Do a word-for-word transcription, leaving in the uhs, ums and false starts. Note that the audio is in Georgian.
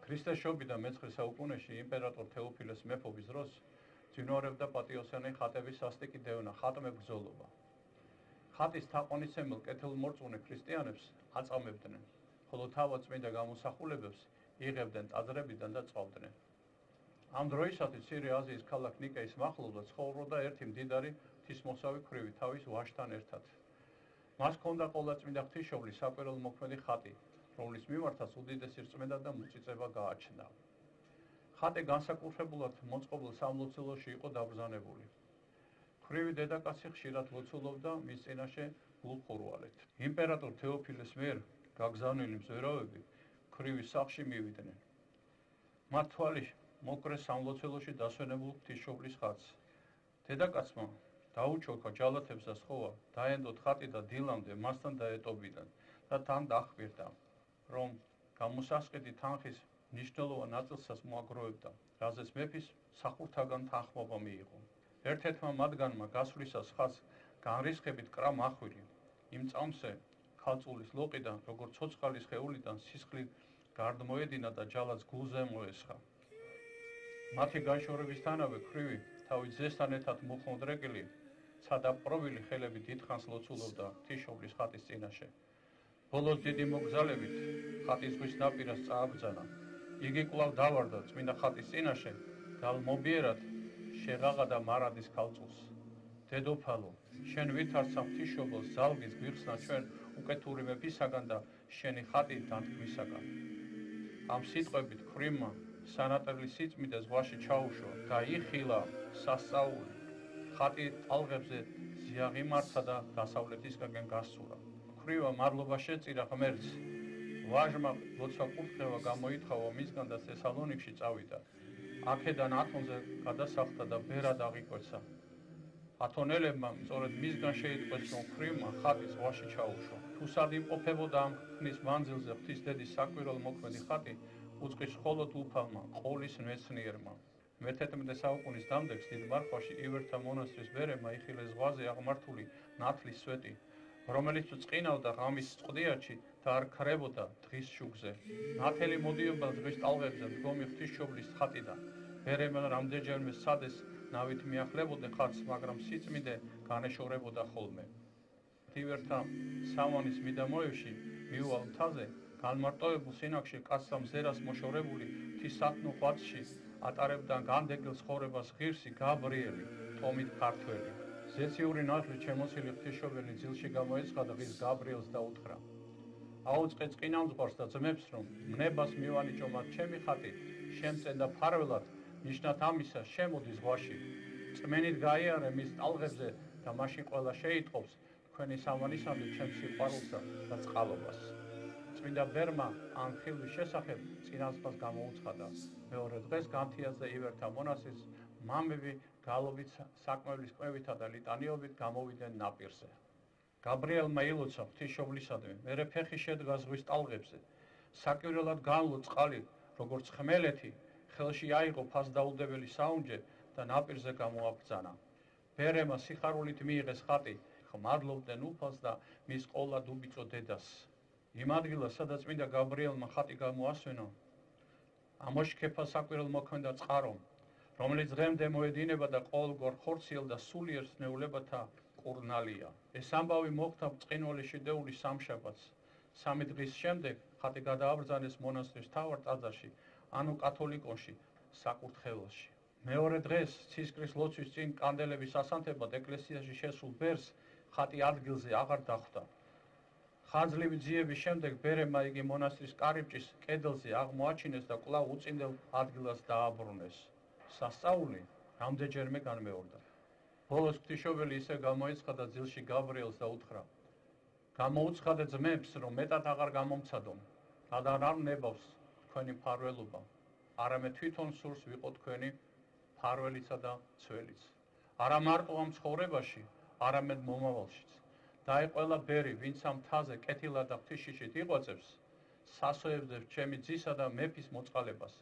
ქრისტეს შობიდან მეცხრე საუკუნეში იმპერატორ თეოფილეს მეფობის დროს ძინვარებდა პატიოსანი ხატების სასტიკი დევნა, ხატმებრძოლობა. ხატის თაყვანისმცემელ კეთილმორწმუნე ქრისტიანებს აწამებდნენ, ხოლო თავადწმინდა გამოსახულებებს იღებდნენ ტაძრებიდან და წვავდნენ. ამ დროისათვის მცირე აზიის ქალაქ ნიკეის მახლობლად ცხოვრობდა ერთი მდიდარი ღვთისმოსავი ქვრივი თავის ვაჟთან ერთად. მას ჰქონდა ყოვლადწმინდა ღვთისმშობლის საკვირველო მოქმედი ხატი, რომლის მიმართაც უდიდესი რწმენა და მოწიწება გააჩნდა. ხატი განსაკუთრებულად მოწყობილ სამლოცველოში იყო დაბრძანებული. ქვრივი დედაკაცი ხშირად ლოცულობდა მის წინაშე გულხურვალეთ. იმპერატორ თეოფილეს მიერ გაგზავნილი მზვერავები ქვრივის სახლში მივიდნენ. მათ თვალის მოკრეს სამლოცველოში დასვენებულ ღვთისმშობლის ხატს. დედაკაცმა დაუჩოქა ჯალათებს და სხოვა, დაენდოთ ხატი და დილამდე მასთან დაეტოვიდან და თან დაჰყვირდა, რომ გამოსასყიდი თანხის მნიშვნელოვან ნაწილსაც მოაგროვებდა, რაზეც მეფის სახურთაგან თანხმობა მიიღო. ერთ-ერთმა მათგანმა გასვლისას ხატს განრისხებით კრა მახვილი, იმ წამსე ქალწულის ლოყიდან, როგორც ცოცხალი სხეულიდან სისხლი გარდმოედინა და ჯალათს გულზე მოესხა. მათი განშორებისთანავე ქვრივი თავის ძესთან ერთად მუხმოდრეკილი, ცადაპყრობილი ხელები დიდხანს ლოცულობდა ღვთისმშობლის ხატის წინაშე. ბოლოს დიდი მოგზალებით ხატის ზღვის ნაპირას წააბრძანა. იგი კვლავ დავარდა წმინდა ხატის წინაშე და მობიერად შეღაღადა მარადის ქალწულს. დედოფალო, შენ ვითარცა ღვთისმშობელს ზალგის გვიხსნა ჩვენ უკეთური მეფისაგან და შენი ხატი დანთქმისაგან. ამ სიტყვებით ქვრივმა სანატრელი სიწმიდე ზღვაში ჩაუშვა და იხილა სასწაული. ხატი ტალღებზე ზიაღიმართა და დასავლეთისკენ გასცურა. ქვრივმა მადლობა შეწირა ღმერთს. ვაჟმა ლოცვა კურთხევა გამოითხოვა მისგან და თესალონიკში წავიდა. აქედან ათონზე გადასახლდა და ბერად აღიკვეცა. ათონელებმა სწორედ მისგან შეიტყვეს, რომ ქვრივმა ხატი ზღვაში ჩაუშვა. თუ სად იმყოფებოდა ამ ხნის მანძილზე ღვთისდედის საკვირველო მოქმედი ხატი, უწყის მხოლოდ უფალმა, ყოლის მეცნიერმა. მეთერთმეტე საუკუნის დამდეგს დიდ მარხვაში ივერთა მონასტრის ბერემა იხილეს ზღვაზე აღმართული ნათლის სვეტი, რომელიც წყინავდა ღამის წყდიაჩი და არ ქრებოდა დღის შუქზე. ნათელი მოდიოდა ზღვის ტალღებზე მდგომი ღვთისმშობლის ხატიდან. ბერემა რამდენჯერმე სცადეს ნავით მიახლებოდა ხატს, მაგრამ სიწმიდე განეშორებოდა ხოლმე. ივერთა სამანის მიდამოებში მიუვალ მთაზე განმარტოვებულ სინაგში კაცთა მზერას მოშორებული ღვთისათნო ღვაწში ატარებდა განდეგილ ცხოვრებას ღირსი გაბრიელი, ტომით ქართველი. ზეციური ნათლით შემოსილი ღვთისმშობელი ძილში გამოეცხა და ღირს გაბრიელს დაუთხრა. აუწყე წყინამძღვარს და ძმებს, რომ მნებას მივანიჭო მათ ჩემი ხატი, შემწენ და ფარველად, ნიშნად ამისა შემოდი ზღვაში. წმენით გაიარე მის ტალღებზე და მაშინ ყველა შეიტყობს თქვენი სამანისამდე ჩემს სიყვარულსა და წყალობას. წმინდა ბერმა ამ ხილვის შესახებ წინასწარ გამოუცხადა. მეორე დღეს განთიაზე ივერთა მონასტრის მამები გალობით საკმევლის კმევითა და ლიტანიობით გამოვიდნენ ნაპირზე. გაბრიელმა ილოცა ღვთისმშობლისადმი, მერე ფეხი შედგა ზღვის ტალღებზე. საკვირველად განლო წყალი, როგორც ხმელეთი, ხელში აიღო ფასდაუდებელი საუნჯე და ნაპირზე გამოაბრძანა. ბერემა სიხარულით მიიღეს ხატი, ხმადლობდნენ უფალს და მის ყოლა დუბიწო დედას. იმ ადგილას, სადაც წმინდა გაბრიელმა ხატი გამოასვენა, ამოშქეფა საკვირველო მოქმედა წყარო, რომელიც დღემდე მოედინება და ყოველგვარ ხორციელ და სულიერ სნეულებათა კურნალია. ეს ამბავი მოხდა ბრწყინვალე შიდეულის სამშაბათს. სამი დღის შემდეგ ხატი გადააბრძანეს მონასტრის მთავარ ტაძარში, ანუ კათოლიკონში, საკურთხეველში. მეორე დღეს ცისკრის ლოცვის წინ კანდელების ასანთებად ეკლესიაში შესულ ბერს ხატი ადგილზე აღარ დახვდა. ხანძლივი ძიების შემდეგ ბერემა იგი მონასტრის კარიბჭის კედელზე აღმოაჩინეს და კვლავ უწინდელ ადგილას დააბრუნეს. სასწაული რამდენჯერმე განმეორდა. ბოლოს ღვთისმშობელი ისე გამოეცხადა ძილში გაბრიელს და უთხრა: გამოუცხადე ძმებს, რომ მეტად აღარ გამომცადონ, რადგან არ ნებავს თქვენი მფარველობა, არამედ თვითონ სურს ვიყო თქვენი მფარველიცა და ცველიც. არა მარტო ამ ცხოვრებაში, არამედ მომავალშიც. დაეყოლა ბერი, ვინც ამ მთაზე კეთილად და ღვთისშიშით იღვაწებს, სასოევდებს ჩემი ძისა და მეფის მოწყალებას.